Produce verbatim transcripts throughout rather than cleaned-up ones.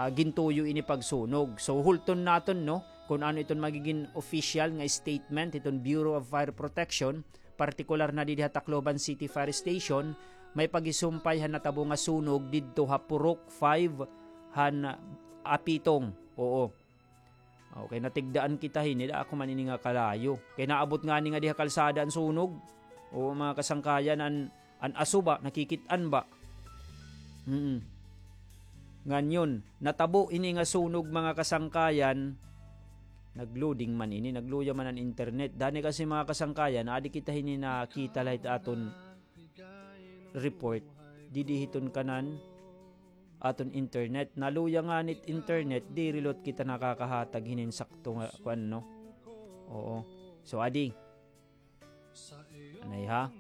ah, gintuyo ini pagsunog. So, hulton naton, no, kun ano iton magigin official nga statement iton Bureau of Fire Protection, partikular na didi ha Tacloban City Fire Station, may pagisumpay han natabo nga sunog didto ha Purok five han Apitong. Oo. Okay, natigdaan kita hini, da ako man ini nga kalayo. Kay naabot ngani nga diha kalsada an sunog. Oo, mga kasangkayan, an, an aso ba, nakikit-an ba? Mm. Nganyon, natabo ini nga sunog, mga kasangkayan. Nag-loading man ini, nagluya man an internet. Dani kasi, mga kasangkayan, adi kita hini nakita la hit aton report. Didi hiton kanan aton internet. Naluya ngani it internet, diri liwat kita nakakahatag hinin sakto nga kuan, no? Oo. So, adi. Anay ha?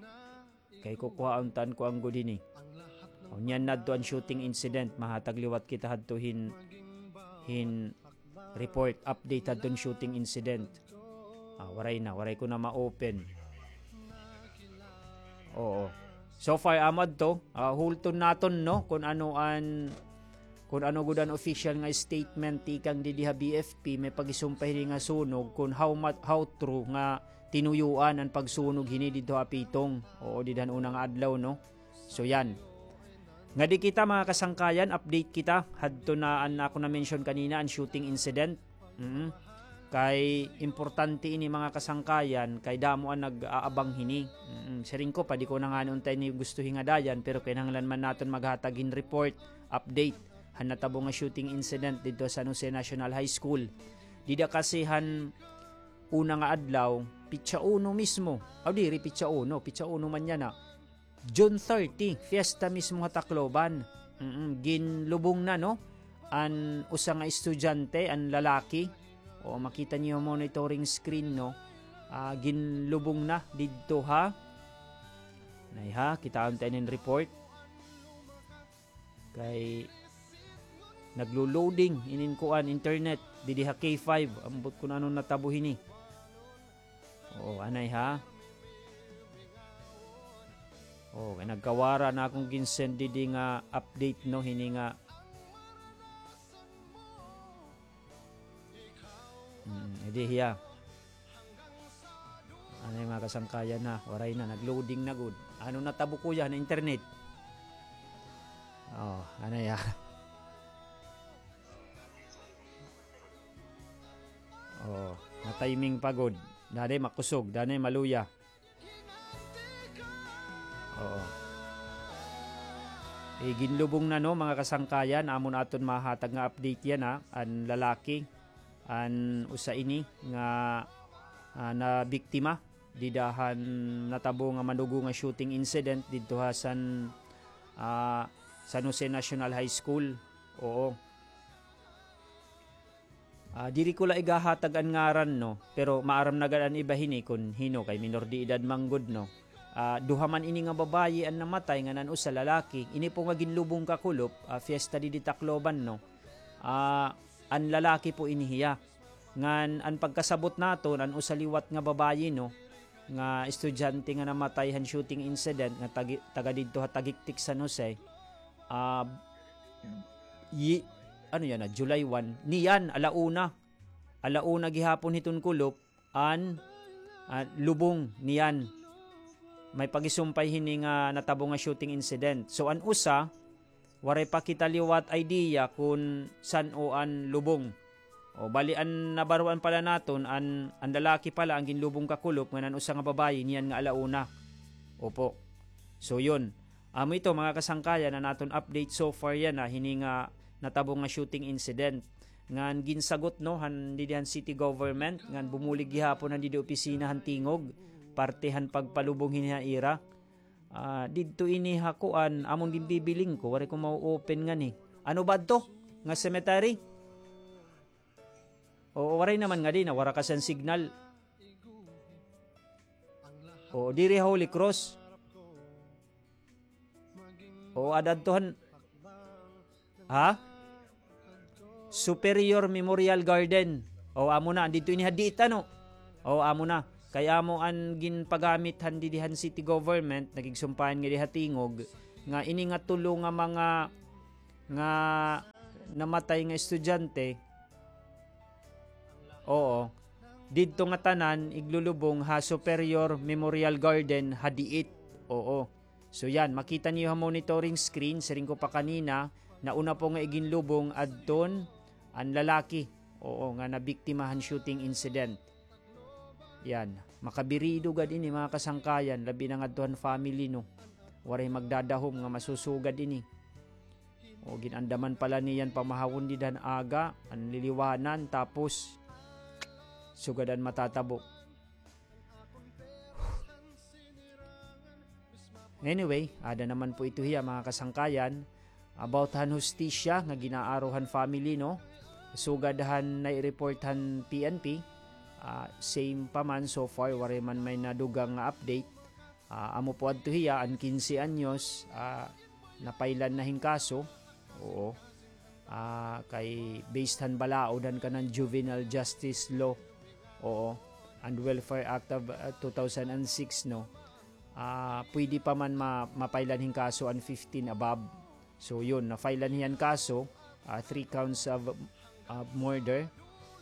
Kay kukuhaon ta an kuan gud hini. Unya na adto an shooting incident, mahatag liwat kita hadto hin, hin report, update hadton shooting incident. Ah, waray na, waray ko na ma-open. Oo. So far, amo adto, ah, hulton naton, no, kun ano an, kun ano gud an official nga statement tikang didi ha B F P, may pagisumpay hini nga sunog, kun how ma-, how true nga tinuyuan an pagsunog hini didto ha Apitong. Oo, didi han una nga adlaw, no? So, yan. Ngadi kita, mga kasangkayan, update kita. Hadto na an ako na-mention kanina, an shooting incident. Mm. Kay importante ini, mga kasangkayan, kay damo an nag-aabang hini. Mm. Siring ko, padi ko na ngani unta ini gusto hingadayan, pero kinahanglan man naton maghatag hin report, update, han natabo nga shooting incident didto ha San Jose National High School. Dida kasi han una nga adlaw, pitsa uno mismo. Aw, diri pitsa uno, pitsa uno man yana. June thirty, fiesta mismo ha Tacloban. Mm, ginlubong na, no? An usa nga estudyante, an lalaki. O, makita niyo monitoring screen, no? Ah, ginlubong na didto ha. Nay ha, kitaon ta inin report. Kay naglo-loading inin kuan, internet didi ha K five. Ambot kun ano natabo hini. Oo, anay ha. Oo, kay nagkawara na akon ginsend didi nga update, no, hini nga. Hmm, edi hiya. Anay, mga kasangkayan, ha, waray na, nag-loading na gud. Ano natabo, kuya, na internet? Oh, anay, ha. Oh, na-timing pa gud. Danay makusog, danay maluya. Oo. Eh, ginlubong na, no, mga kasangkayan, amon aton mahatag nga update yana, an lalaki, an usa ini nga, ah, nabiktima dida han natabo nga manugo nga shooting incident didto ha San, ah, San Jose National High School. Oo. Ah, diri ko la igahatag an ngaran, no, pero maaram na gad an iba hini kun hin-o kay minor de edad man gud, no. Ah, duha man ini nga babayi an namatay ngan an usa lalaki. Ini po nga ginlubong kakulop, ah, fiesta didi Tacloban, no. Ah, an lalaki po ini hiya. Ngan an pagkasabot naton, an usa liwat nga babayi, no, nga estudyante nga namatay han shooting incident nga tagi-, taga didto ha Tagiktik, San Jose. Ah, yi-, ano yana, July one. Niyan, ala una. Ala una gihapon hiton kulop, an, ah, lubong niyan. May pagisumpay hini nga natabo nga shooting incident. So, an usa, waray pa kita liwat idea kun san-o an lubong. O, bali an nabaroan pala naton, an, an lalaki pala an ginlubong kakulop, ngan an usa nga babayi, niyan nga ala una. Opo. So, yun. Amo ito, mga kasangkayan, an aton update so far yana, hini nga natabo nga shooting incident. Ngan ginsagot, no, han didi han city government, ngan bumulig gihapon han didi opisina han tingog, parte han pagpalubong hini ha ira. Ah, didto ini ha kuan, amon ginbibiling ko, waray ko mau-open ngani. Ano ba adto? Nga cemetery? Oo, waray naman ngadi, nawara kasi an signal. Oo, diri ha Holy Cross. Oo, ada adto han, ha? Superior Memorial Garden. O, amo na, didto ini ha dita, no? O, amo na. Kay amo an ginpagamit han didi han city government, nakigsumpayan ngadi ha tingog, nga ini nga tulo nga mga, nga namatay nga estudyante, oo, didto ngatanan iglulubong ha Superior Memorial Garden ha Diit. Oo. So yan, makita niyo ha monitoring screen, siring ko pa kanina, nauna po nga iginlubong adton an lalaki, oo, nga nabiktima han shooting incident. Yan, makabirido gad ini, mga kasangkayan, labi na ngadto han family, no. Waray magdadahom nga masusugad ini. O, gin-andaman pa la niyan pamahawon dida han aga, an liliwanan, tapos sugad an matatabo. Anyway, ada naman po ito hiya, mga kasangkayan, about han hustisya nga ginaaro han family, no? Sugad han nai-report han P N P, ah, same pa man so far, waray man may nadugang nga update. Ah, amo po adto hiya, an kinse anyos, ah, napailan na hin kaso. Oo. Ah, kay based han balaod han kanan Juvenile Justice Law, oo, and Welfare Act of, ah, two thousand and six, no? Ah, pwede pa man ma-, mapailan hin kaso an fifteen above. So, yun, napailan hiya hin kaso, ah, three counts of, ah, murder,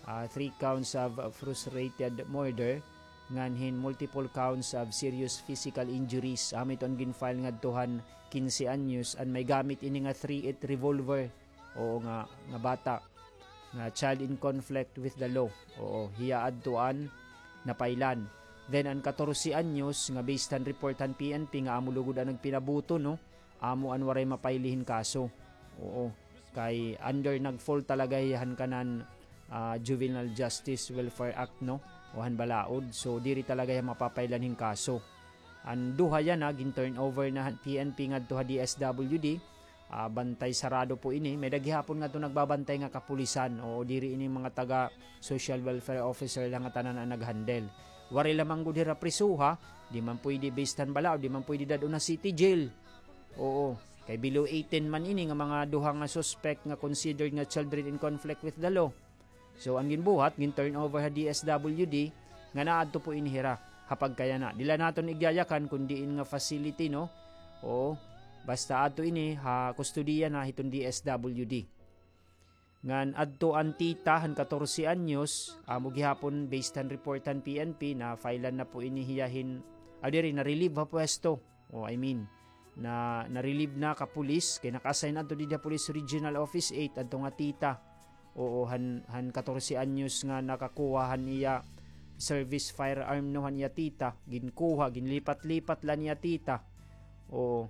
ah, three counts of, ah, frustrated murder, ngan hin multiple counts of serious physical injuries. Amo ito an gin-file ngadto han kinse anyos, an may gamit ini nga three eight revolver. Oo, nga, nga bata. Nga child in conflict with the law. Oo, hiya adto an napailan. Then, an katorse anyos, nga based han report han P N P, nga amo lugod an nagpinabuto, no? Amo an waray mapaili hin kaso. Oo. Kay under nag-fall talaga hiya han kanan, ah, Juvenile Justice Welfare Act, no? O han balaod. So, diri talaga hiya mapapailan hin kaso. An duha yana, gin-turn over na han P N P ngadto ha D S W D. Ah, bantay sarado po ini. May-ada gihapon ngadto nagbabantay nga kapulisan. Oo, diri ini mga taga social welfare officer la ngatanan an nag-handle. Waray la man gud hira prisuha, di man pwede based han balaod, di man pwede dad-on ha city jail. Oo, kay below eighteen man ini nga mga duha nga suspect nga considered nga children in conflict with the law. So, an ginbuhat, gin-turn over ha D S W D, nga naadto po ini hira ha pagkayana. Diri la naton igyayakan kon diin nga facility, no? Oo, basta adto ini ha kustodiya na hiton D S W D. Ngan adto an tita han katorse anyos, amo gihapon based han report han P N P, na-file-an na po ini hiya hin, ah, diri, na-relieve ha pwesto. O, I mean, na, na-relieve na ka pulis, kay naka-assign adto didi ha Police Regional Office eight, adto nga tita. Oo, han, han katorse anyos nga nakakuha han iya service firearm, no, han iya tita, ginkuha, ginlipat-lipat la niya tita. Oo.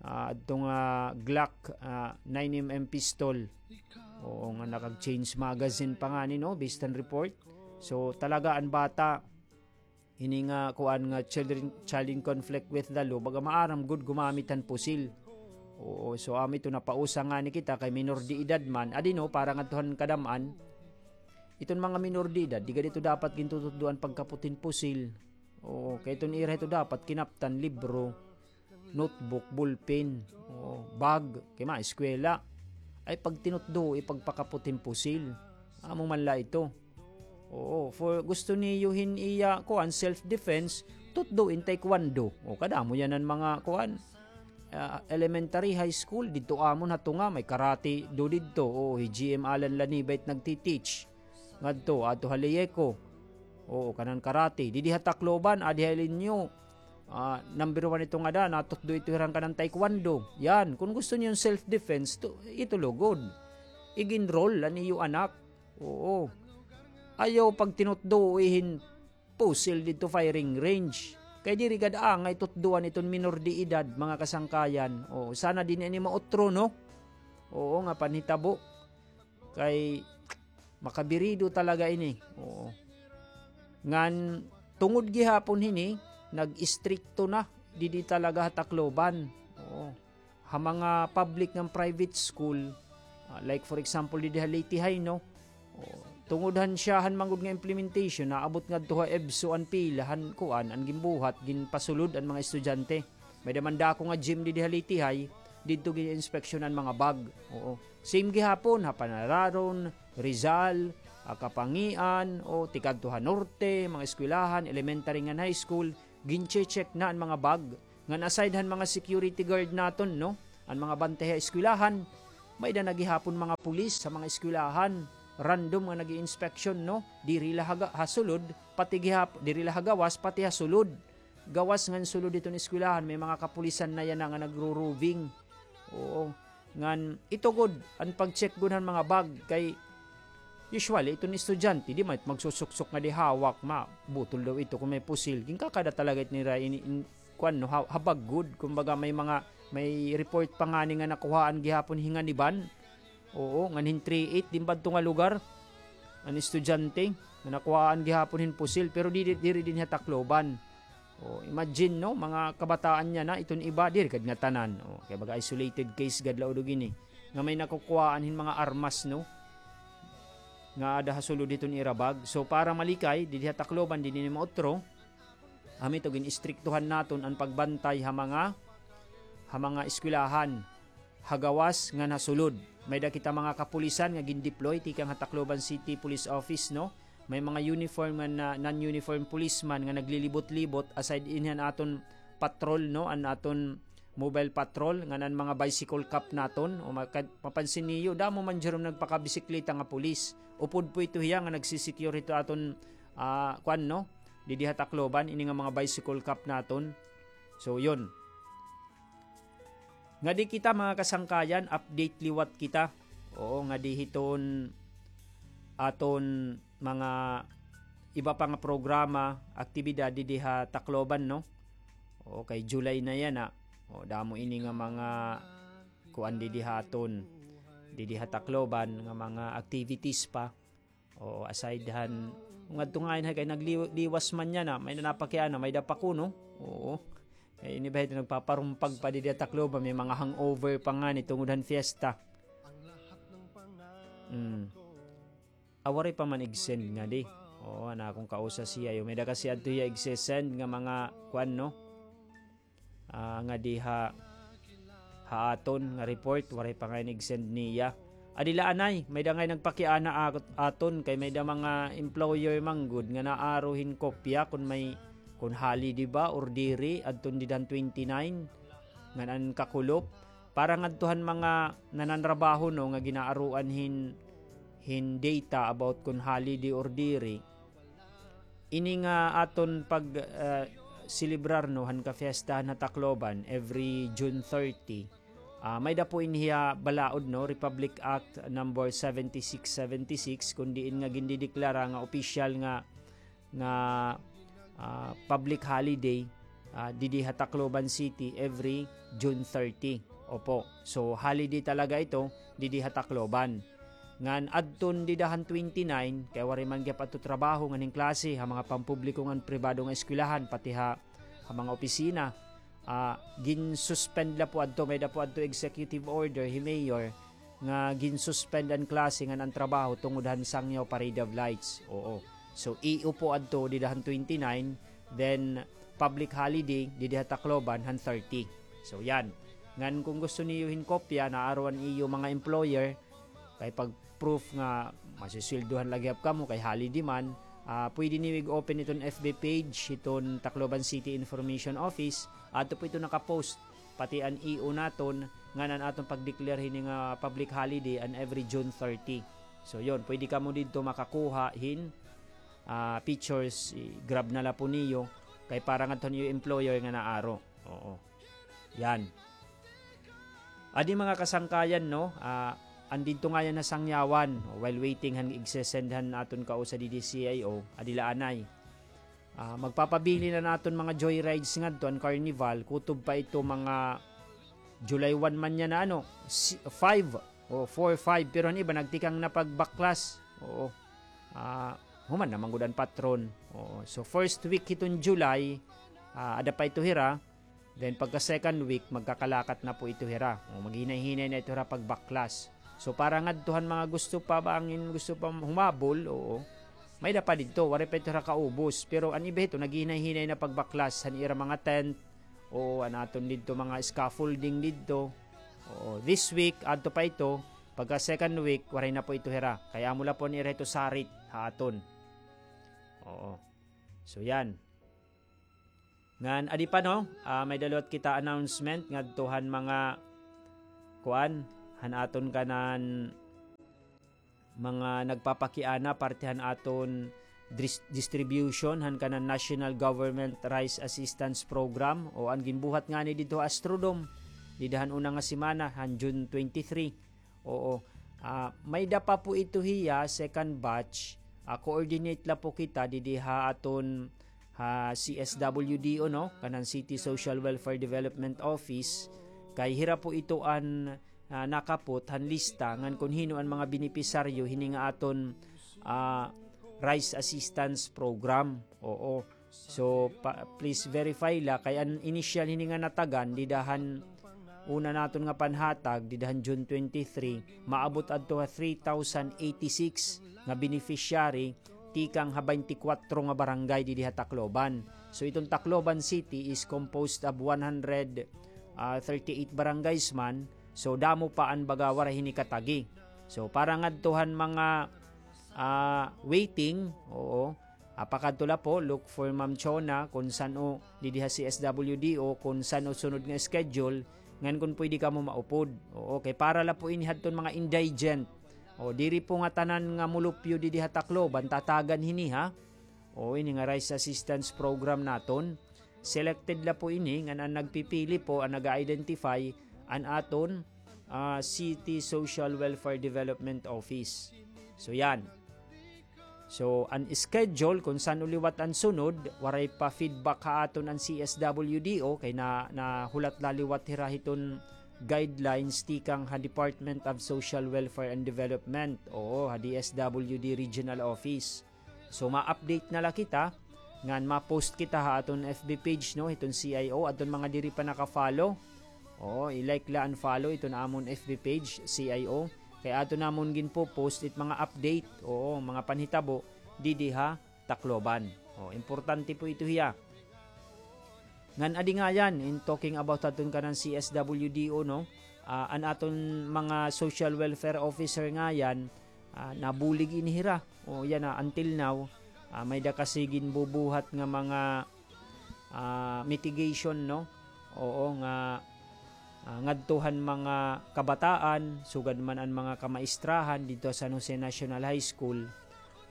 Ah, adto nga Glock, ah, nine M M pistol. Oo, nga nakag-change magazine pa ngani, no, based on report. So, talaga an bata, ini nga kuan nga children, child in conflict with the law, baga maaram gud gumamit han pusil. Oo, so amo ito, napausa ngani kita kay minor de edad man. Adi, no, para ngadto han kadam-an. Iton mga minor de edad, di gad ito dapat gintututdoan pagkapot hin pusil. Oo, kay iton ira ito dapat kinaptan libro, notebook, ballpen, o, bag, kay maeskwela. Ay, pag tinutdo, ipagpakapot hin pusil. Amo man la ito. Oo, for gusto niyo hin iya, kuan, self-defense, tutdo in taekwondo. O, kadamo yana an mga, kuan, ah, elementary, high school, didto amon ha tunga, may karate do didto. Oo, hi G M Alan Lanibay it nagti-teach. Ngadto, adto ha Leyeco. Oo, kanan karate. Didi ha Tacloban, adi ha Ilinyo. Ah, number one ito ngada, natutdo ito hira han kanan taekwondo. Yan, kon gusto niyo hin self-defense, to, ito lugod. Ig-enroll an iyo anak. Oo. Ayaw pagtinutdoi hin pusil didto firing range. Kay diri gad angay tutdoan iton minor de edad, mga kasangkayan. Oo, sana diri ini mautro, no? Oo, nga panhitabo. Kay makabirido talaga ini. Oo. Ngan tungod gihapon hini, nag-istrikto na didi talaga ha Tacloban. Oo. Ha mga public ngan private school, ah, like for example, didi ha Leyte High, no? Oo. Tungod han siya han man gud nga implementation, naabot ngadto ha EVSO an pila han kuan, an ginbuhat, ginpasulod an mga estudyante. May-ada man dako nga gym didi ha Leyte High, didto gin-inspeksyonan mga bag. Oo. Same gihapon ha Panararon, Rizal, ha Kapangian, o tikadto ha Norte, mga eskwelahan, elementary ngan high school, gin-che-check na an mga bag. Ngan aside han mga security guard naton, no? An mga bantay ha eskwelahan, May-ada na gihapon mga pulis ha mga eskwelahan, random nga nag-iinspeksyon, no? Diri la ha ga-, ha sulod, pati gihap-, diri la ha gawas, pati ha sulod. Gawas ngan sulod hiton eskwelahan, may mga kapulisan na yana nga nagro-roving. Oo. Ngan ito gud an pag-check gud han mga bag kay usually iton estudyante, di man magsusuksok nga di hawak, mabutol daw ito kon may pusil. Ginkakada talaga it nira ini, in, kuan, no, ha-, ha bag gud. Kumbaga, may mga, may report pa ngani nga nakuhaan gihapon hi Nganiban. Oo, ngan hin three eight, din ba adto nga lugar? An estudyante, nga nakuhaan gihapon hin pusil, pero di, di, diri dinhi ha Tacloban. O, imagine, no, mga kabataan niya na, iton iba, diri gad ngatanan. O, kay baga isolated case gad la udog ini. Nga may nakukuhaan hin mga armas, no? Nga aada ha sulod hiton ira bag. So, para malikay, didi ha Tacloban, didi ni mautro, amo ito, gin-istriktuhan naton an pagbantay ha mga, ha mga eskwelahan, ha gawas ngan ha sulod. May-ada kita mga kapulisan nga gin-deploy tikang ha Tacloban City Police Office, no? May mga uniform ngan na, non-uniform policeman nga naglilibot-libot aside dinhi han aton patrol, no? An aton mobile patrol, ngan an mga bicycle cop naton. O maka-, mapansin niyo, damo man dyan nagpakabisikleta nga pulis. Upod po ito hiya nga nagsisecure hito aton, ah, kuan, no? Didi ha Tacloban, ini nga mga bicycle cop naton. So, yun. Ngadi kita, mga kasangkayan, update liwat kita. Oo, ngadi hiton aton mga iba pa nga programa, aktibidad didi ha Tacloban, no? Oo, kay July na yana. O, damo ini nga mga kuan didi ha aton, didi ha Tacloban nga mga activities pa. Oo, aside han, ngadto ngay-an ha, kay nagliwas man yana, may-ada napakiana, may-ada pa kuno. Oo. Kay ini ba ito nagpaparumpag pa didi ha Tacloban, may mga hangover pa ngani tungod han fiesta. Mm. Ah, waray pa man ig-send ngadi. Oo, an akon kausa siya, may-ada kasi adto hiya igse-send nga mga kuan, no? Ah, ngadi ha, ha aton nga report, waray pa ngay-an ig-send niya. Adi la anay, may-ada ngay nagpakiana at-, aton, kay may-ada mga employer man gud nga naaro hin kopya kon may, kon holiday ba or diri, adton dida han twenty-nine, ngan an kakulop. Para ngadto han mga nananrabaho, no, nga ginaaroan hin, hin data about kon holiday or diri. Ini nga aton pag, ah, selebrar, no, han kafiestahan ha Tacloban every June thirty. Ah, may-ada po ini hiya balaod, no, Republic Act number seventy-six seventy-six, kun diin nga gindideklara nga opisyal nga, nga, ah, public holiday, ah, didi ha Tacloban City every June thirty. Opo. So, holiday talaga ito didi ha Tacloban. Ngan adton dida han twenty-nine, kay waray man gihap adto trabaho ngan hin klase ha mga pampubliko ngan pribado nga eskwelahan, pati ha, ha mga opisina. Ah, gin-suspend la po adto, may-ada po adto executive order hi Mayor nga gin-suspend an klase ngan an trabaho tungod han Sangyaw Parade of Lights. Oo. So, iyo po adto dida han twenty-nine, then public holiday didi ha Tacloban han thirty. So, yan. Ngan kung gusto niyo hin kopya, naaro an iyo mga employer, kay pag-proof nga masisweldohan la gihap kamo kay holiday man, ah, pwede niyo ig-open iton F B page, iton Tacloban City Information Office, adto po ito nakapost, pati an E O naton, ngan an aton pag-declare hini nga public holiday an every June thirty. So, yun, pwede kamo didto makakuha hin, ah, pictures, i-grab na la po niyo, kay para ngadto han iyo employer nga naaro. Oo. Yan. Adi mga kasangkayan, no? Ah, an didto ngay-an ha Sangyawan, while waiting han igse-send han aton kausa didi C I O, adi la anay. Ah, magpapabilin an aton mga joyrides ngadto, an carnival, kutob pa ito mga July one man yana, ano, si-, five, o four, five, pero an iba nagtikang na pagbaklas. Oo. Ah, human na man gud an patron. Oo. So, first week hiton July, ah, ada pa ito hira. Then, pagka second week, magkakalakat na po ito hira. O, maghinay-hinay na ito hira pagbaklas. So, para ngadto han mga gusto pa, bangin gusto pa humabol, oo. May-ada pa didto, waray pa ito hira kaubos. Pero an iba hito, naghinay-hinay na pagbaklas han ira mga tent, o an aton didto mga scaffolding didto. Oo, this week, adto pa ito, pagka second week, waray na po ito hira. Kay amo la po an ira hito sarit, ha aton. Oo. So, yan. Ngan, adi pa, no? Ah, may-ada liwat kita announcement ngadto han mga, kuan, han aton kanan mga nagpapakiana parte han aton dris-, distribution han kanan National Government Rice Assistance Program, o an ginbuhat ngani didto ha Astrodome dida han una nga semana han June twenty-three. Oo. Ah, may-ada pa po ito hiya, second batch. Ah, coordinate la po kita didi ha aton ha C S W D O, no? Kanan City Social Welfare Development Office. Kay hira po ito an, ah, nakapot han lista ngan kon hin-o an mga benepisaryo hini nga aton, ah, rice assistance program. Oo. So, pa-, please verify la kay an initial hini nga natagan dida han una naton nga panhatag dida han June twenty-three, maabot adto ha three thousand eighty-six nga beneficiary tikang ha twenty-four nga barangay didi ha Tacloban. So, iton Tacloban City is composed of one hundred, ah, thirty-eight barangays man. So, damo pa an baga waray hini katagi. So, para ngadto han mga, ah, waiting, oo, ah, pakadto la po, look for Ma'am Chona, kon san-o didi ha C S W D O, kon san-o sunod nga schedule, ngan kon pwede kamo maupod. Oo, kay para la po ini hadton mga indigent. O, diri po nga tanan nga mulupyo didi ha Tacloban, tatagan hini, ha? O, ini nga rice assistance program naton. Selected la po ini, ngan an nagpipili po, an nag-identify, an aton, ah, City Social Welfare Development Office. So, yan. So, an schedule, kon san-o liwat an sunod, waray pa feedback ha aton an C S W D O, kay na, nahulat la liwat hira hiton guidelines tikang ha Department of Social Welfare and Development, oo, ha D S W D Regional Office. So, ma-update na la kita, ngan ma-post kita ha aton F B page, no, hiton C I O, adton mga diri pa naka-follow. Oo, i-like la and follow iton amon F B page, C I O. Kay aton namon ginpo-post it mga update, oo, mga panhitabo, didi ha Tacloban. O, importante po ito hiya. Ngan adi ngayan, in talking about aton kanan C S W D O, no? Ah, an aton mga social welfare officer ngayan, ah, nabulig ini hira. O, yana, until now, ah, may-ada kasi ginbubuhat nga mga, ah, mitigation, no? Oo, nga, ah, ngadto han mga kabataan, sugad man an mga kamaistrahan didto ha San Jose National High School,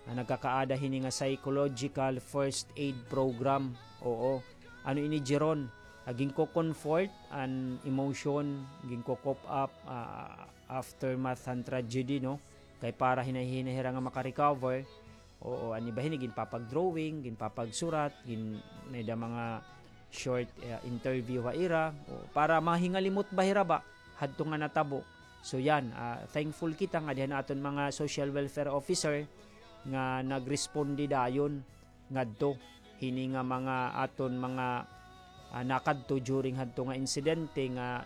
ah, nagkakaada hini nga psychological first aid program. Oo. Ano ini, Jeron? Ah, ginko-comfort an emotion, ginko-cope up, ah, aftermath han tragedy, no? Kay para hinay-hinay hira nga maka-recover. Oo, an iba hini ginpapag-drawing, ginpapagsurat, gin-, may-ada mga short, eh, interview ha ira. O, para mahingalimot ba hira ba hadto nga natabo. So, yan, ah, thankful kita nga dihan aton mga social welfare officer nga nagresponde dayon ngadto hini nga mga aton mga, ah, nakadto during hadto nga insidente nga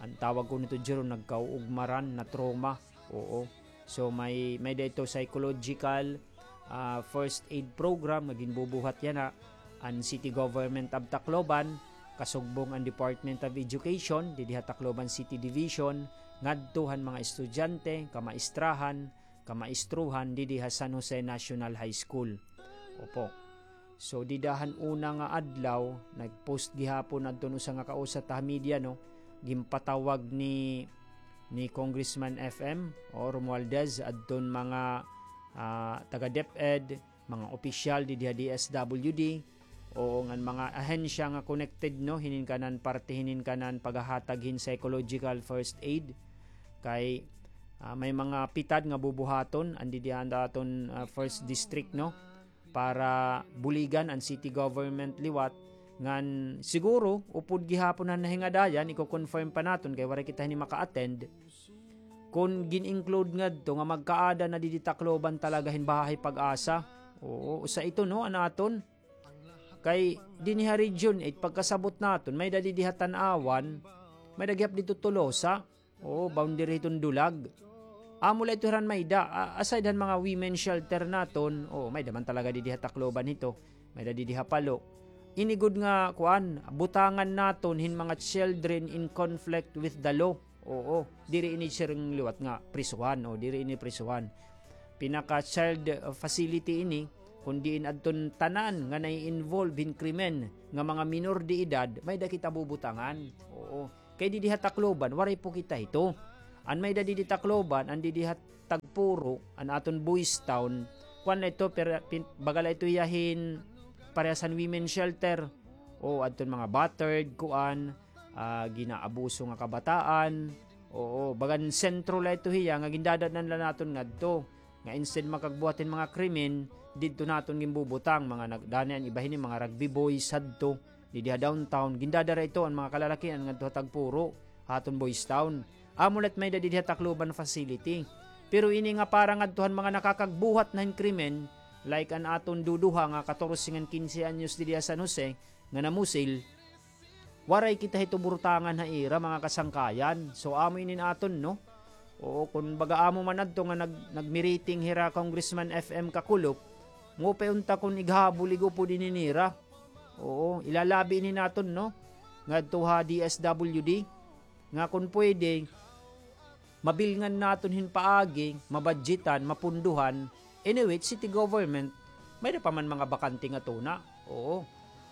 an tawag ko nito, Jeron, nagkauugmaran, na-trauma. Oo. So, may, may-ada ito psychological, ah, first aid program nga ginbubuhat yana an City Government of Tacloban, kasugbong an Department of Education, didi ha Tacloban City Division, ngadto han mga estudyante, kamaistrahan, kamaistruhan didi ha San Jose National High School. Opo. So, dida han una nga adlaw, nag-post gihapon adton usa nga kausa ta ha media, no? Ginpatawag ni, ni Congressman F M, o, Romualdez, adton mga, ah, taga DepEd, mga opisyal didi ha D S W D, o ngan mga ahensya nga connected, no, hinin kanan parte hinin kanan paghahatag hin psychological first aid. Kay, ah, may mga pitad nga bubuhaton, an didi han aton, ah, first district, no, para buligan an city government liwat, ngan siguro, upod gihapon han nahingadayan, iko-confirm pa naton kay waray kita hini maka-attend. Kon gin-include ngadto nga magkaada na didi Tacloban talaga hin bahahay Pag-asa. Oo, usa ito, no, an aton. Kay dinhi ha Region eight, pagkasabot naton, may-ada didi ha Tanauan, may-ada gihap didto Tolosa. Oo, boundary hiton Dulag. Amo la ito hiran may-ada, a-, aside han mga women shelter naton, oo, may-ada man talaga didi ha Tacloban hito. May-ada didi ha Palo. Ini gud nga, kuan, butangan naton hin mga children in conflict with the law. Oo, diri ini siring liwat nga prisuhan, o diri ini prisuhan. Pinaka-child, uh, facility ini, kun diin adton tanan nga nai-involve hin krimen nga mga minor de edad, may-ada kita bubutangan. Oo. Kay didi ha Tacloban, waray po kita hito. An may-ada didi Tacloban, an didi ha Tagpuro, an aton Boys Town, kuan la ito, per-, pin-, baga la ito hiya hin parehas han women shelter. O, adton mga battered, kuan, ah, ginaabuso nga kabataan. Oo, bagan sentro la ito hiya nga gindadad-an la naton ngadto. Nga instead makagbuhat hin mga krimen, didto naton ginbubutang, mga nag-, dani an iba hini, mga rugby boys hadto. Didi ha downtown, gindadara ito an mga kalalakian ngadto ha Tagpuro, ha aton Boys Town. Amo la it may-ada didi ha Tacloban facility. Pero ini nga para ngadto han mga nakakagbuhat na hin krimen, like an aton duduha nga katorse ngan kinse anyos didi ha San Jose, nga namusil, waray kita hito burutangan ha ira, mga kasangkayan. So, amo ini an aton, no? Oo, kun baga amo man adto nga nag-, nagmiriting hira Congressman F M Kakulop, ngupay unta kun ighabol, igupod ini nira. Oo, ilalabi ini naton, no? Ngadto ha D S W D, nga kun pwede, mabilngan naton hin paagi, mabadjitan, mapunduhan. Anyway, city government, may-ada pa man mga bakante nga tuna. Oo.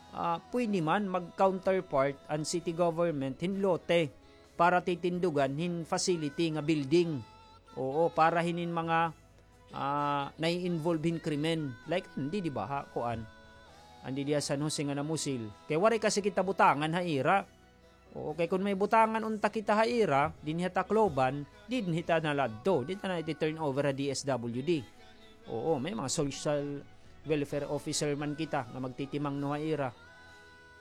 Ah, pwede man mag-counterpart an city government hin lote para titindugan hin facility nga building. Oo, para hinin mga, ah, nai-involve hin krimen. Like, an didi ba ha, kuan. An didi ha San Jose nga namusil. Kay waray kasi kita butangan ha ira. Oo, kay kun may butangan unta kita ha ira, dinhi ha Tacloban, dinhi ta na la adto, di ta na iti-turn over ha D S W D. Oo, may mga social welfare officer man kita nga magtitimangno ha ira.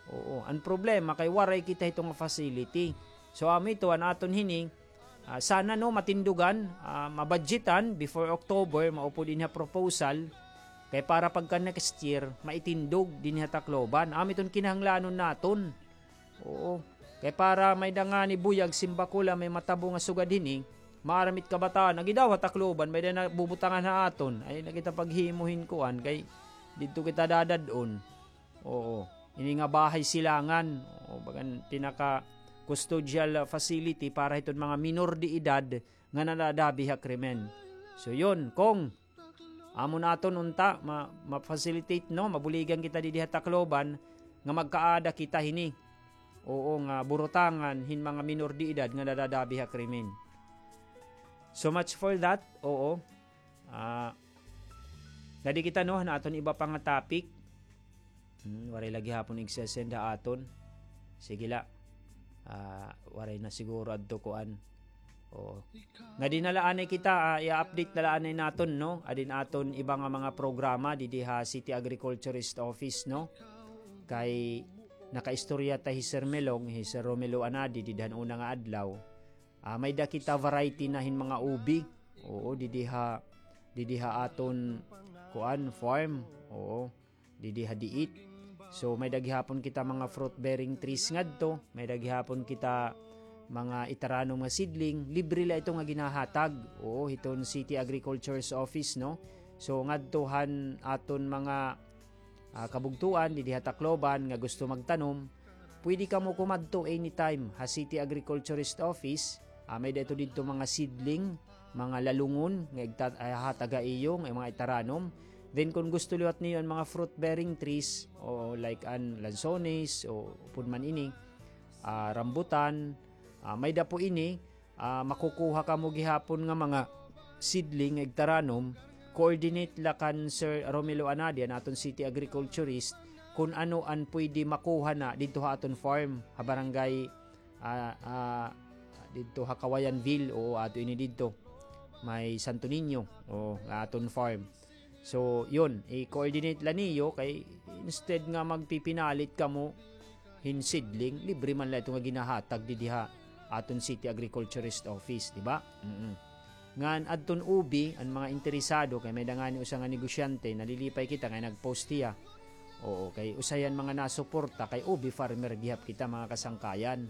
Oo, an problema kay waray kita hito nga facility. So, amo ito, an aton hini, ah, sana, no, matindugan, ah, mabadjitan before October, maupod ini ha proposal, kay para pagka next year, maitindog dinhi ha Tacloban. Amo iton kinahanglanon naton. Oo. Kay para may-ada ngani buyag, simbako la, may matabo nga sugad hini, maaram it kabataan, agi daw ha Tacloban, may-ada na bubutangan ha aton. Ay, na kita paghimo hin kuan, kay didto kita dadad-on. Oo. Ini nga bahay silangan, o bagan pinaka-custodial facility para hiton mga minor de edad nga nadadabi ha krimen. So, yun, kung amo naton unta, ma-, ma-facilitate, no? Mabuligan kita didi ha Tacloban nga magkaada kita hini. Oo, nga burutangan hin mga minor de edad nga nadadabi ha krimen. So much for that. Oo. Ah, ngadi kita, no, han aton iba pa nga topic. Hmm, waray la gihapon igsesend ha aton. Sige la. Ah, waray na siguro adto kuan. Oo. Ngadi na la anay kita, ah, i-update na la anay naton, no? Adin aton iba nga mga programa didi ha City Agriculturist Office, no? Kay nakaistorya ta hi Sir Melong, hi Sir Romelo Anadi, didi han una nga adlaw. Ah, may-ada kita variety na hin mga ubi. Oo, didi ha, didi ha aton kuan, farm. Oo. Didi ha diit. So, may-ada gihapon kita mga fruit-bearing trees ngadto. May-ada gihapon kita mga itaranom nga seedling. Libre la ito nga ginahatag. Oo, hiton City Agriculture's Office, no? So, ngadto han aton mga, ah, kabugtoan, didi ha Tacloban, nga gusto magtanom, pwede kamo kumadto anytime ha City Agriculturist Office. Ah, may-ada ito didto mga seedling, mga lalungon nga igta-, ah, hatag ha iyo nga mga itaranom. Then, kun gusto liwat niyo an mga fruit-bearing trees, o like an lansones, o upod man ini, ah, rambutan, ah, may-ada po ini, ah, makukuha kamo gihapon nga mga seedling nga igtaranom, coordinate la kan Sir Romelo Anadi, an aton city agriculturist, kun ano an pwede makuha na didto ha aton farm, ha barangay ah, ah, didto ha Kawayanville, o ato ini didto. May Santo Niño, o aton farm. So, yun, i-coordinate la niyo kay instead nga magpipinalit kamo hin seedling, libre man la ito nga ginahatag didi ha aton City Agriculturist Office, di ba? Mm-mm. Ngan adton ubi, an mga interesado, kay may-ada ngani usa nga negosyante, nalilipay kita, kay nag-post hiya. Oo, kay usa hiya han mga nasuporta, kay ubi farmer gihap kita, mga kasangkayan.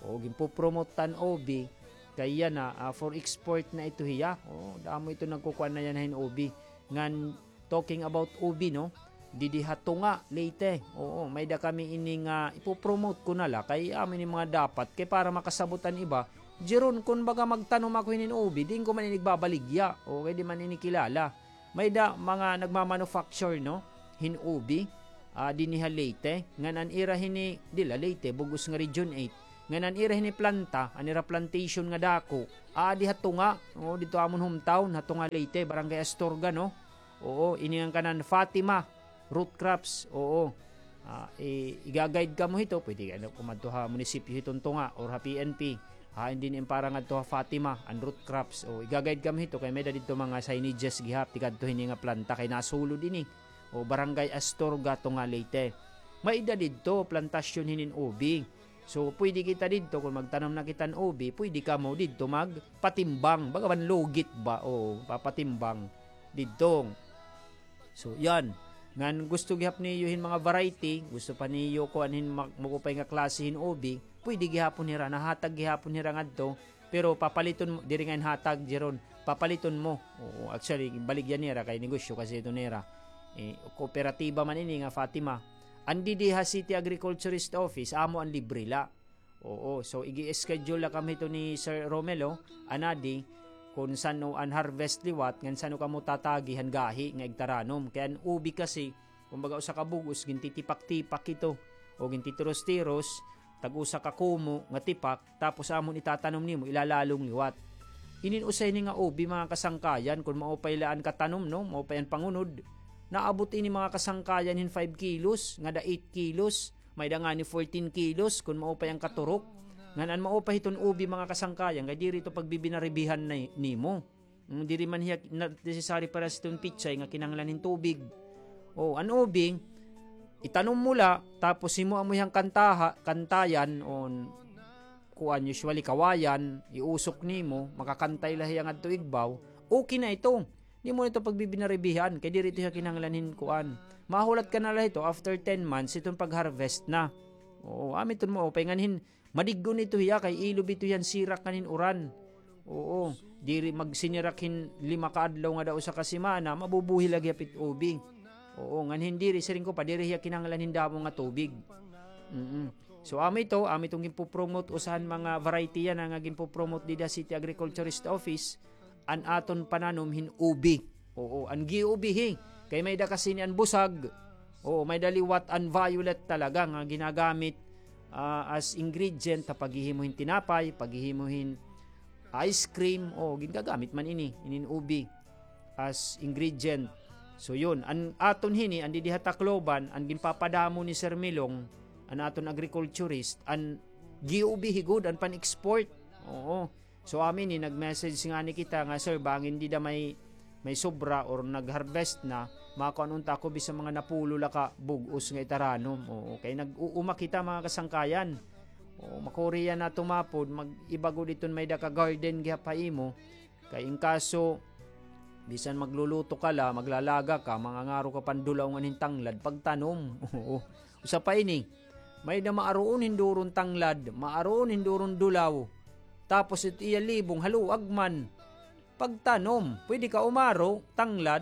Oo, ginpopromote ta an ubi, kay yana, ah, for export na ito hiya. Oo, damo ito nagkukuan na yana hin ubi. Ngan, talking about ubi, no? Didi ha Tunga, Leyte. Oo, may-ada kami ini nga ipopromote ko na la, kay amo ini mga dapat, kay para makasabot an iba, Jeron, kun baga magtanom ako hinin ubi, diin ko man ini igbabaligya. O, kay di man ini kilala. May-ada mga nagmamanufacture, no, hin ubi, ah, dinhi ha Leyte. Ngan an ira hini, diri la Leyte, bug-os nga Region eight. Ngan an ira hini planta, an ira plantation nga dako, aadi ha tunga, oo, didto ha amon hometown, ha tunga Leyte, Barangay Astorga, no? Oo, ini an kanan Fatima root crops, oo. Ah, i-, iga-guide kamo hito, pwede ka na kumadto ha munisipyo hiton tunga or ha P N P. Ha, hindi ni para ngadto ha Fatima, an root crops. O, iga-guide kamo hito, kay may-ada didto mga signages gihap, tikadto hini nga planta, kay nasulod ini. O, Barangay Astorga, tunga Leyte. May-ada didto, plantasyon hinin ubi. So, pwede kita didto, kung magtanom na kita hin ubi, pwede kamo didto magpatimbang. Baga man lugit ba? O, papatimbang didto. So, yan. Ngan gusto gihap niyo hin mga variety, gusto pa niyo kuan hin ma-, maupay nga klase hin ubi, pwede gihapon hira, nahatag gihapon hira ngadto, pero papaliton mo, diri nga hin hatag, Jeron, papaliton mo. Oo, actually, baligya nira kay negosyo kasi ito nira. Eh, kooperatiba man ini nga Fatima. An didi ha City Agriculturist Office, amo an libre la. Oo, so igi-schedule la kami hito ni Sir Romelo, anadi, kun san-o an harvest liwat, ngan san-o kamo tatagi han gahi nga igtaranom. Kay an ubi kasi, kumbaga usa ka bug-os, gintitipak-tipak ito, o gintitiros-tiros, tag-usa ka kumo nga tipak, tapos amon itatanom nimo, ilalalong liwat. Inin usa ini nga ubi, mga kasangkayan, kun maupay la an katanom, no, maupay an pangunod, naabot ini, mga kasangkayan, hin five kilos, ngada eight kilos, may-ada ngani fourteen kilos kun maupay an katurok. Ngan an maupay hiton ubi, mga kasangkayan, kay diri ito pagbibinaribihan na nimo. Mm, diri man hiya na-, necessary para sa iton pitsay nga kinahanglan hin tubig. O, an ubi, itanom mo la, tapos himoa mo hiyang kantaha-, kantayan, o kuan, usually kawayan, iusok nimo, makakantay la hiya ngadto igbaw, okay na ito. Di mo ito pagbibinaribihan, kay diri ito hiya kinahanglan hin kuan. Mahulat ka na la hito after ten months, iton pag-harvest na. Oo, amo iton maupay ngan hin, madig-on ito hiya, kay ilob ito hiya han sirak ngan hin uran. Oo, diri magsinirak hin lima ka adlaw ngada usa ka semana, mabubuhi la gihap it ubi. Oo, ngan hin diri, siring ko pa, diri hiya kinahanglan hin damo nga tubig. Mm-mm. So, amo ito, amo iton ginpo-promote, usa han mga variety yana nga ginpo-promote dida City Agriculturist Office, an aton pananom hin ubi. Oo, an gi-ubihi. Kay may-ada kasi ini an busag. Oo, may-ada liwat an violet talaga nga ginagamit, ah, as ingredient ha paghihimo hin tinapay, paghihimo hin ice cream. Oo, ginagamit man ini, inin ubi as ingredient. So, yun. An aton hini, an didi ha Tacloban, an ginpapadamo ni Sir Milong, an aton agriculturist, an gi-ubihi gud, an pan-export. Oo. So, amin ni nag-message ngani kita nga, "Sir, bangin dida may, may sobra or nag-harvest na, makuan unta ako bisan mga napulo la ka bug-os nga itaranom." Oo, kay nag-uuma kita, mga kasangkayan. Oo, makuri yana tumapod, mag-iba gud iton may-ada ka garden gihap ha imo. Kay in kaso, bisan magluluto ka la, maglalaga ka, mangangaro ka pandulaw ngan hin tanglad, pagtanom. Oo. Usa pa ini, may-ada maaroon hin duron tanglad, maaroon hin duron dulaw. Tapos it iya libong haluag man. Pagtanom, pwede ka umaro, tanglad,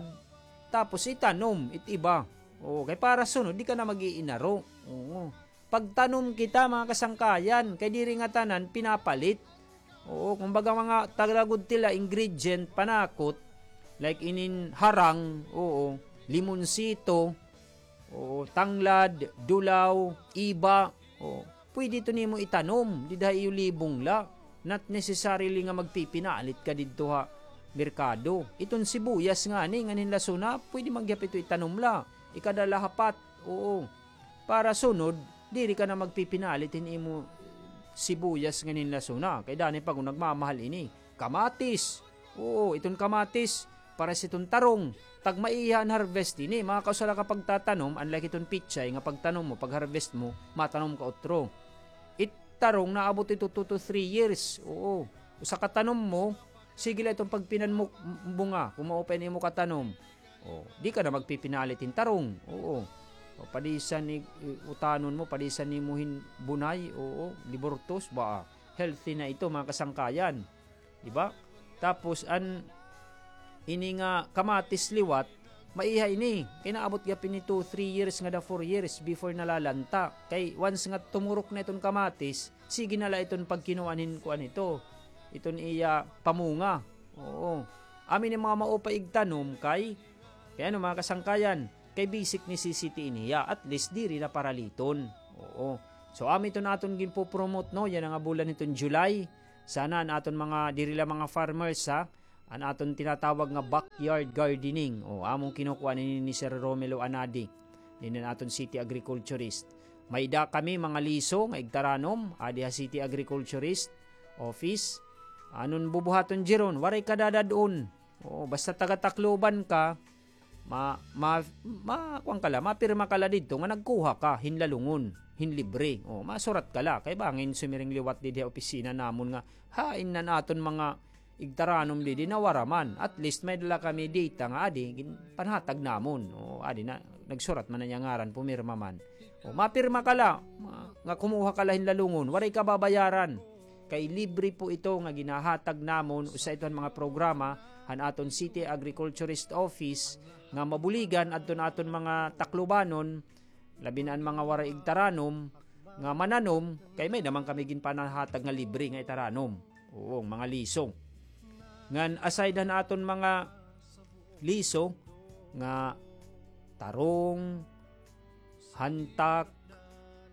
tapos itanom, it iba. Oo, kay para sunod, di ka na mag-iinaro. Oo. Pagtanom kita, mga kasangkayan, kay diri ngatanan pinapalit. Oo, kumbaga mga taga gud tila ingredient, panakot, like inin harang, oo, limonsito, oo, tanglad, dulaw, iba, oo. Pwede ito nimo itanom, dida ha iyo libong la. Not necessarily nga magpipinalit ka didto ha merkado. Iton sibuyas ngani, ngan hin lasuna, pwede man gihap ito itanom la. Ikada la hapat, oo. Para sunod, diri ka na magpipinalit hin imo sibuyas ngan hin lasuna. Kay danay pa kun nagmamahal ini. Kamatis. Oo, iton kamatis, pares iton tarong. Tagmaiha an harvest ini. Makausa la ka pagtatanom, unlike iton pitsay nga pagtanom mo, pag-harvest mo, matanom ka utro. It tarong, naabot ito two to three years. Oo. Usa ka tanom mo, sige la iton pagpinanmok, m-, bunga, kun maupay an imo katanom. O, di ka na magpipinalit hin tarong. Oo. O, padisan ni, i-, utanon mo, padisan nimo hin bunay, oo, liburtos, ba, healthy na ito, mga kasangkayan. Di ba? Tapos, an, ini nga kamatis liwat, maiha ini. Kay naabot gihap ini two, three years, ngada four years before nalalanta. Kay once nga tumurok na iton kamatis, sige na la iton pagkinuan hin kuan ito. Iton iya pamunga. Oo. Amin nga mga maupay igtanom kay, kay ano, mga kasangkayan, kay basic necessity ini hiya, at least diri na paraliton. Oo. So, amo iton aton ginpopromote, no? Yana nga bulan hiton July. Sana an aton mga, diri la mga farmers, ha? An aton tinatawag nga backyard gardening. O, amon kinukuha ini ni Sir Romelo Anadi. Ini an aton city agriculturist. May-ada kami mga liso nga igtaranom, adi ha city agriculturist office. Anon bubuhaton, Jeron? Waray ka dadad-on. Oo, basta taga Tacloban ka, ma-, ma-, ma-, kuwan ka la, mapirma ka la didto nga nagkuha ka hin lalungon, hin libre. O, masurat ka la. Kay bangin sumiring liwat didi ha opisina namon nga, hain na an aton mga igtaranom didi, nawara man. At least may-ada la kami data nga adi, gin-, panhatag namon. O, adi na, nagsurat man an iya ngaran, pumirma man. O, mapirma ka la, ma-, nga kumuha ka la hin lalungon, waray ka babayaran. Kay libre po ito nga ginahatag namon, usa ito han mga programa han aton City Agriculturist Office nga mabuligan adton aton mga Taclobanon, labi na an mga waray igtaranom, nga mananom, kay may-ada man kami ginpanahatag nga libre nga itaranom. Oo, mga liso. Ngan aside han aton mga liso nga tarong, hantak,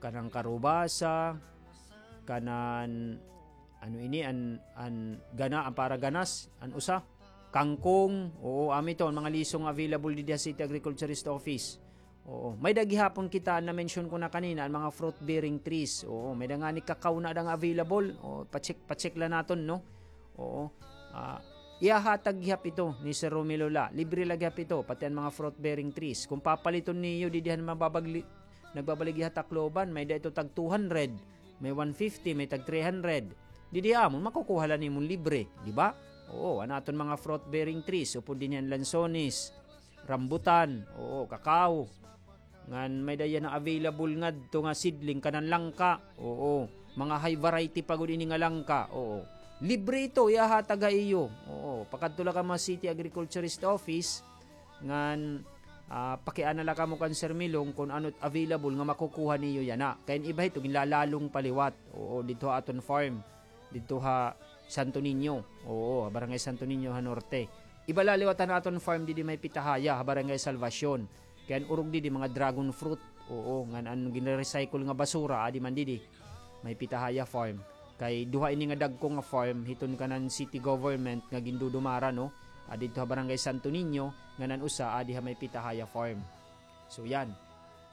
kanan karubasa, kanan, ano ini, an, an gana, an para ganas, an usa, kangkong. Oo, amo ito, an mga liso nga available didi ha City Agriculturist Office. Oo, may-ada gihapon kita, an na-mention ko na kanina, an mga fruit-bearing trees. Oo, may-ada ngani kakao na ada nga available. O, pa-check, pa-check la naton, no? Oo. Ah, ihahatag gihap ito ni Sir Romelo la. Libre la gihap ito, pati an mga fruit-bearing trees. Kon papaliton niyo didi han mababagli-, nagbabaligya ha Tacloban, may-ada ito tag two hundred, may one fifty, may tag three hundred. Didi ha amon, makukuha la nimon libre, di ba? Oo, an aton mga fruit-bearing trees, upod dinhi an lansones, rambutan, oo, kakao. Ngan may-ada yana available ngadto nga seedling kanan langka. Oo. Mga high variety pa gud ini nga langka. Oo. Libre ito, ihahatag ha iyo. Oo. Pakadto la ka mga City Agriculturist Office. Ngan, ah, pakiana la kamo kan Sir Milong kon ano it available nga makukuha niyo yana. Kay an iba hito, ginlalalong pa liwat. Oo, didto ha aton farm. Didto ha Santo Niño. Oo, ha Barangay Santo Niño ha Norte. Iba la liwat han aton farm didi may Pitahaya, ha Barangay Salvacion. Kay an urog didi mga dragon fruit. Oo, ngan an ginre-recycle nga basura, adi man didi. May Pitahaya farm. Kay duha ini nga dagko nga farm, hiton kanan city government nga gindudumara, no? Adi didto ha Barangay Santo Niño, ngan an usa, adi ha may Pitahaya farm. So, yan.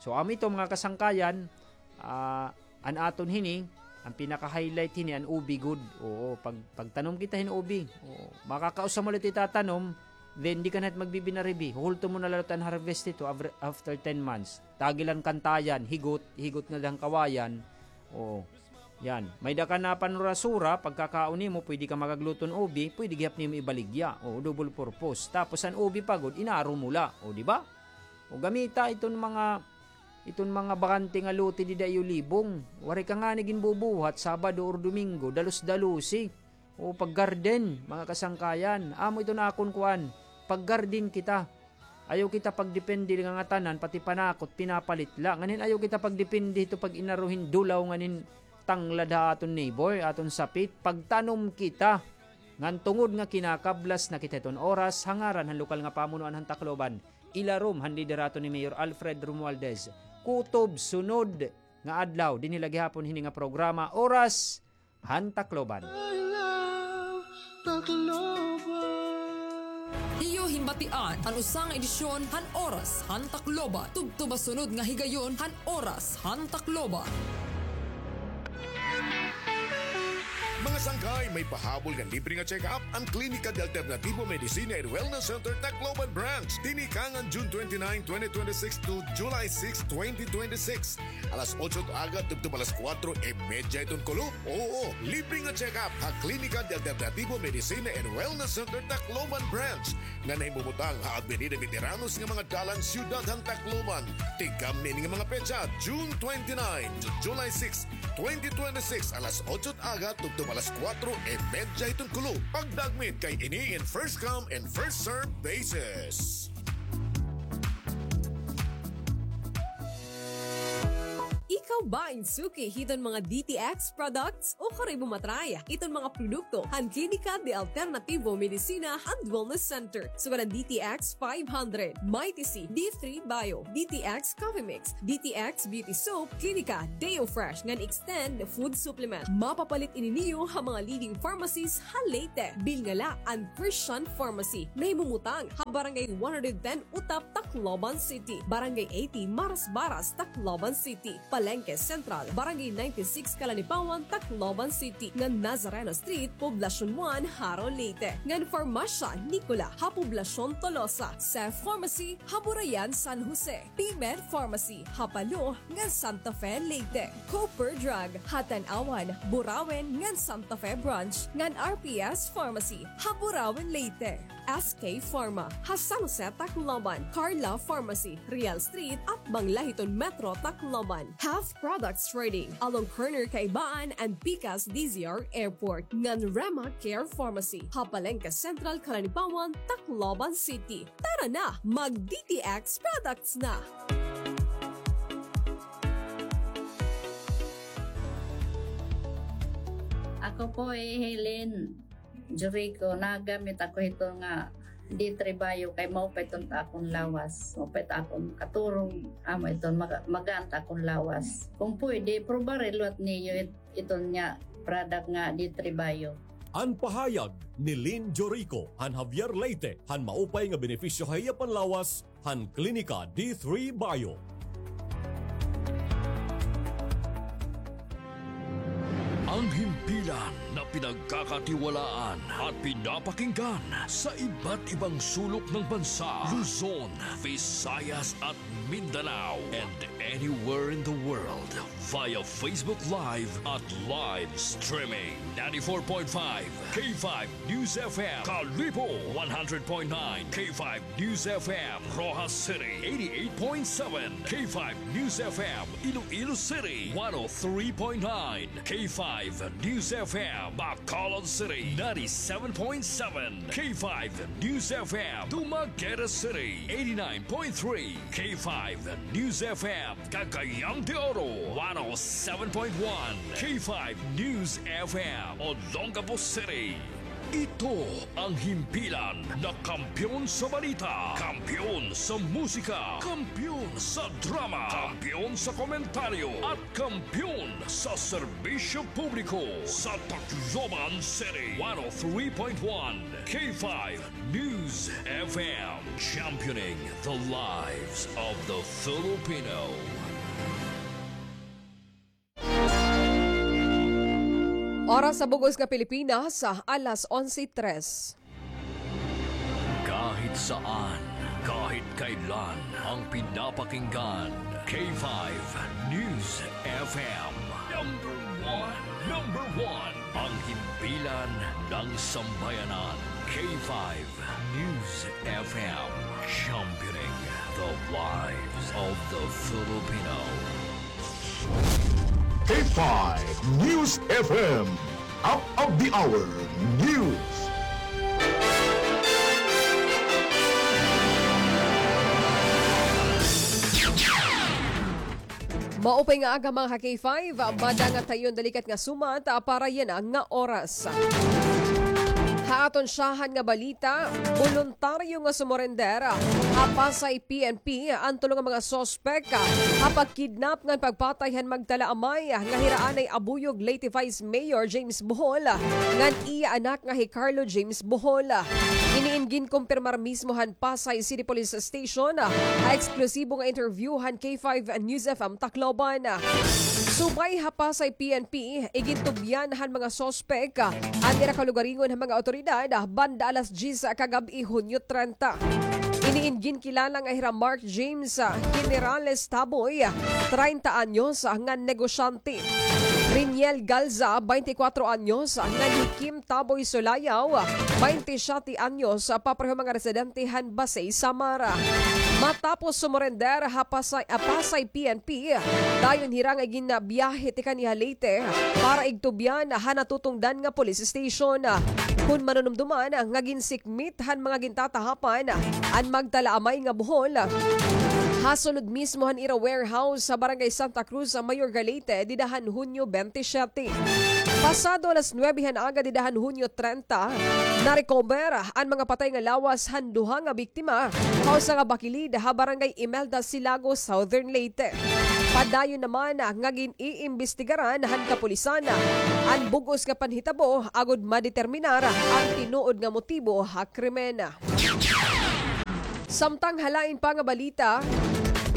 So, amo ito, mga kasangkayan, ah, an aton hini, an pinaka-highlight hini, an ubi gud. Oo, pag, pagtanom kita hin ubi, oo, makakausa mo la ito itatanom, then di ka na it magbibinaribi. Huhulto mo na la ito an harvest ito avr-, after ten months. Tagilan kantayan, higot, higot nga dahang kawayan. Oo. Yan. May-ada ka na panurasura, pagkakaon nimo, pwede ka makagluto hin ubi, pwede gihap nimo ibaligya. Oo, double purpose. Tapos an ubi pa gud, inaro mo la. O, di ba? O gamita iton mga, iton mga bakante nga lote dida iyo libong. Waray ka ngani ginbubuhat, Sabado or Domingo, dalos-dalosi. O pag-garden, mga kasangkayan. Amo iton akon kuan, pag-garden kita. Ayaw kita pagdepende nga ngatanan, pati panakot, pinapalit la. Ngan hin ayaw kita pagdepende hito pag-inaro hin dulaw ngan hin tanglad ha aton neighbor, aton sapit. Pagtanom kita. Ngan tungod nga kinakablas na kita hiton oras, ha ngaran han lokal nga pamunuan han Tacloban, ilarom han liderato ni Mayor Alfred Romualdez, kutob sunod nga adlaw, dinhi la gihapon hini nga programa, Oras han Tacloban. Iyo hinbatian an usa nga edisyon han Oras han Tacloban. Tubtob ha sunod nga higayon han Oras han Tacloban. Mga sangkay, may pahabol nga libre nga check-up an Klinika de Alternativo Medicina and Wellness Center Tacloban Branch. Tinikangan June twenty-nine, twenty twenty-six to July six, twenty twenty-six. Alas otso it aga tubtob alas kuwatro y medya iton kulop. Oo, libre nga check-up ha Klinika de Alternativo Medicina and Wellness Center Tacloban Branch nga nahimumutang ha Avenida Veteranos nga mga dalan, siyudad han Tacloban. Tikang niini nga mga petsa, June twenty-nine to July six, twenty twenty-six, alas otso it aga tubtob alas kuwatro y medya iton kulop. Pagdagmit kay ini in first come and first serve basis. Ikaw ba in suki hiton mga D T X products? Ukon ikaw ba matry iton mga produkto han Klinika de Alternativo Medicina and Wellness Center? Sugad an D T X five hundred, Mighty C, D three Bio, D T X Coffee Mix, D T X Beauty Soap, Klinika Deo Fresh ngan Extend Food Supplement. Mapapalit ini niyo ha mga leading pharmacies ha Leyte. Bilngala an Christian Pharmacy, nahimumutang ha Barangay one hundred ten Utap, Tacloban City, Barangay eighty Marasbaras, Tacloban City, Palengke Central, Barangay ninety-six Calanipaon, Tacloban City, ngan Nazareno Street, Poblacion one, Jaro, Leyte, ngan Farmacia Nicola ha Poblacion Tolosa, Cef Pharmacy ha Burayan, San Jose, P-Med Pharmacy ha Palo ngan Santa Fe, Leyte, Cooper Drug ha Tanauan, Burauen ngan Santa Fe Branch, ngan R P S Pharmacy ha Burauen, Leyte. S K Pharma ha San Jose, Tacloban, Carla Pharmacy, Real Street, atbang la hiton Metro Tacloban, Half Products Trading, along corner Kaibaan and pikas D Z R Airport, ngan Rema Care Pharmacy ha Palengke Central, Calanipaon, Tacloban City. Tara na, mag D T X products na! Ako po hi Helen Jericho, nagamit ako hito nga D three Bio kay maupay iton ta akon lawas. Maupay ta akon katurog, amo iton maga-, magaan ta akon lawas. Kung pwede, probare liwat niyo it-, iton nga product nga D three Bio. An pahayag ni Lynn Jorico han Javier, Leyte, han maupay nga benepisyo ha iya panlawas han Klinika D three Bio. Ang himpilan na pinagkakatiwalaan at pinapakinggan sa iba't ibang sulok ng bansa, Luzon, Visayas at Mindanao, and anywhere in the world via Facebook Live at live streaming. Ninety-four point five K five News F M, Kalibo, one hundred point nine K five News F M, Roxas City, eighty-eight point seven K five News F M, Iloilo City, one oh three point nine K five News F M, Bacolod City, ninety-seven point seven K five News F M, Dumaguete City, eighty-nine point three K five News F M, Cagayan de Oro, one oh seven point one K five News F M, Olongapo City. Ito ang himpilan na kampiyon sa balita, kampiyon sa musika, kampiyon sa drama, kampiyon sa komentaryo, at kampiyon sa serbisyo publiko sa Tacloban City, one oh three point one K five News F M, championing the lives of the Filipino. Oras sa bug-os nga Pilipinas, alas onse tres. Kahit saan, kahit kailan, ang pinapakinggan, K five News F M. Number one, number one, ang himpilan ng sambayanan, K five News F M, championing the lives of the Filipino. K five News F M, up of the hour news. Maupay nga aga, mga ka-K five. Madangat ha iyo an dalikat nga sumat, ah, para yana nga oras. Ha aton syahan nga balita, boluntaryo nga sumurender ha Pasay P N P an tulo nga mga suspek ha pagkidnap ngan pagpatay han magtalaamay nga hira anay Abuyog, Leyte Vice Mayor James Bohol, ngan iya anak nga hi Carlo James Bohol. Ini in ginkumpirmar mismo han Pasay City Police Station ha eksklusibo nga interview han K five News F M Tacloban. Subay ha Pasay P N P, igintubyan han mga suspek an ira kalugaringon han mga awtoridad banda alas diyes kagab-i, Hunyo trenta. Ini in ginkilala nga hira Mark James Generales Taboy, treinta anyos, ngan negosyante. Riniel Galza, baynte kwatro anyos, ngan hi Kim Taboy Sulayaw, baynte siyete anyos, papareho mga residente han Basey, Samar. Matapos sumurender ha Pasay, ah, Pasay P N P, dayon hira nga ginbiyahe tikang ha Leyte para igtubyan ha natutungdan nga police station. Kon manunumduman nga ginsikmit han mga gintatahapan an magtalaamay nga buhol, ha sulod mismo han ira warehouse ha Barangay Santa Cruz, Mayor Galete, dida han Hunyo twenty-seven. Pasado alas nuwebe han aga dida han Hunyo trenta, na-recover an mga patay nga lawas han duha nga biktima ha usa nga bakilid ha Barangay Imelda, Silago, Southern Leyte. Padayon naman nga gin-iimbestigaran han kapulisan an bug-os nga panhitabo agod madeterminar an tinuod nga motibo ha krimen. Samtang ha lain pa nga balita,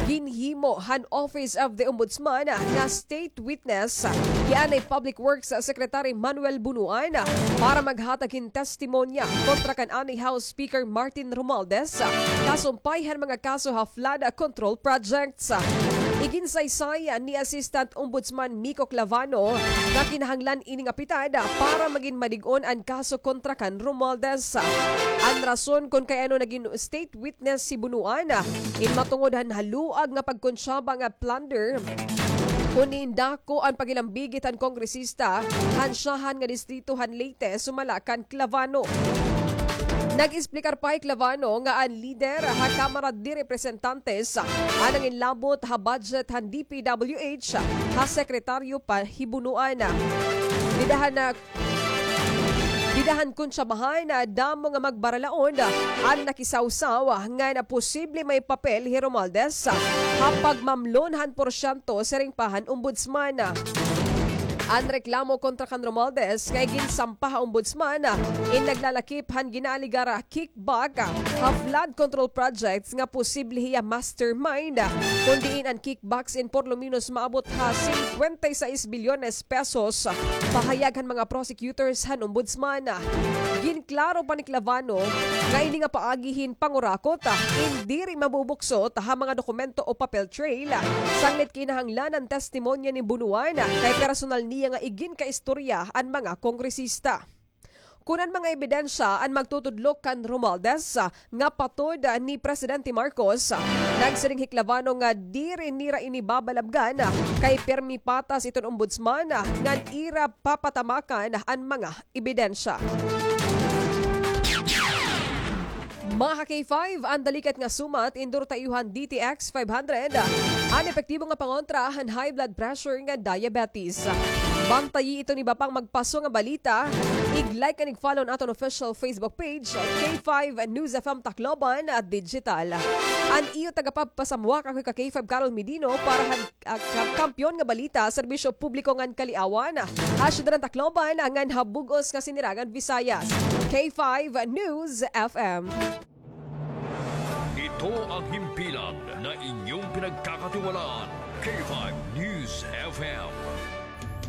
ginhimo han Office of the Ombudsman nga state witness hi anay Public Works Secretary Manuel Bunuan para maghatag hin testimonya kontra kan anay House Speaker Martin Romualdez, kasumpay han mga kaso ha flood control projects. Iginsaysay ni Assistant Ombudsman Miko Clavano nga kinahanglan ini nga pitad para magin madig-on an kaso kontra kan Romualdez. An rason kon kay ano nagin state witness hi Bunuan, in matungod han haluag nga pagkontsaba nga plunder, kon diin dako an paghilambigit han kongresista han syahan nga distrito han Leyte sumala kan Clavano. Nag-esplikar pa hi Clavano nga an lider ha Kamara de Representantes an nanginlabot ha budget han D P W H ha sekretaryo pa hi Bunuan. Dida han, dida han kontsabahan, damo nga magbaralaod an nakisawsaw ngan posible may papel hi Romualdez ha pagmamlon han porsyento, siring pa han ombudsman. An reklamo kontra kan Romualdez nga iginsampa ha ombudsman in naglalakip han ginaaligar kickback ha flood control projects nga posible hiya mastermind, kon diin an kickbacks in por lo menos maabot ha singkwenta y sais bilyones pesos, pahayag han mga prosecutors han ombudsman. Ginklaro pa ni Clavano nga ini nga paagi hin pangurakot in diri mabubuksot ha mga dokumento o papel trail, sanglit kinahanglan an testimonya ni Bunuan kay personal niya nga iginkaistorya an mga kongresista. Kun an mga ebidensya an magtutudlo kan Romualdez nga patod ni Presidente Marcos, nagsiring hi Clavano nga diri nira ini babalabgan kay pirmi patas iton ombudsman ngan ira papatamakan an mga ebidensya. Mga ka-K five, an dalikat nga sumat, indor ta iyo han D T X five hundred, an epektibo nga pangontra han high blood pressure ngan diabetes. Bantayi iton iba pang magpaso nga balita. Ig-like ngan ig-follow an aton official Facebook page, K five News F M Tacloban Digital. An iyo tagapagpasamuak, ako ka-K five Carol Medino para han ah, ka-, Kampiyon nga Balita, Serbisyo Publiko ngan Kaliawan, ha siyudad han Tacloban ngan ha bug-os nga Sinirangan Visayas. K five News F M. Ito ang himpilan na inyong pinagkakatiwalaan, K five News F M.